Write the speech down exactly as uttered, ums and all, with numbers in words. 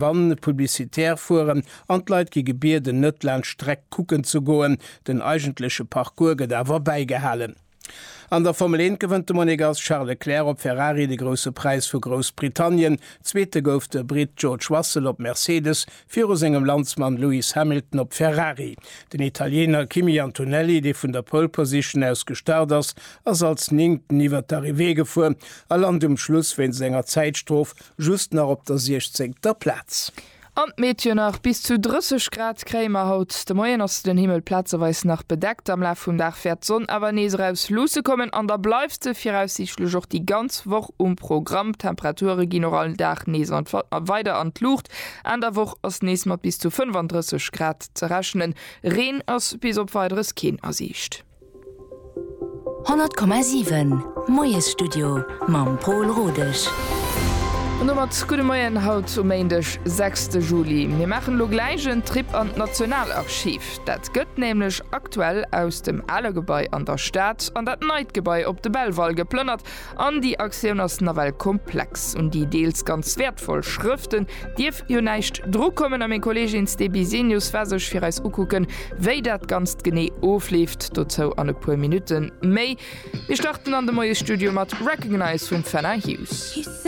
Van publicitaire fueren an d'Leit gi gebieden net laanscht d'Streck kucken ze goen, den eigentleche Parcours gëtt awer bäigehalen. An der Formel eent gewënnt de Monegass Charles Leclerc op Ferrari de Grousse Präis vu Groussbritannien. Zweete gouf de Britt George Russell op Mercedes viru sengem Landsmann Lewis Hamilton op Ferrari. Den Italiener Kimi Antonelli, dee vun der Pole Position aus gestart ass, ass als Néngten iwwer d'Arrivée gefuer a lant um Schluss wéinst enger Zäitstrof just nach op der siechzéngter Plaz. An d'Meteo nach, Bis zu drësseg Grad kréie mer haut de Moien, ass den Himmel plazeweis nach bedeckt. Am Laf vum Dag wäert d'Sonn awer nees eraus luusse kommen an da bleift se viraussiichtlech och déi ganz Woch um Programm. D'Temperature ginn och all Dag nees an weider an d'Luucht. Enn der Woch ass nees mat bis zu fënnfandrësseg Grad ze rechnen. Reen ass bis op Weideres keen a Siicht. Honnert Komma siwen, Moiesstudio mam Pol Rodesch. An domat gudde Moien haut um Méindeg, sechste Juli. Mir maachen elo gläich en Trip an d'Nationalarchiv. Dat gëtt nämlech aktuell aus dem ale Gebai an der Stad an dat neit Gebai op de Belval geplënnert. An déi Aktioun ass nawell komplex. Un déi deels ganz wäertvoll Schrëften dierf jo näischt drukommen. A meng Kolleegin Ste Bisenius war sech fir eis ukucken, wéi dat Ganzt genee ofleeft. Dozou an e puer Minutte méi. Mir starten an de Moiesstudio mat Recognize vum Fenna Hughes.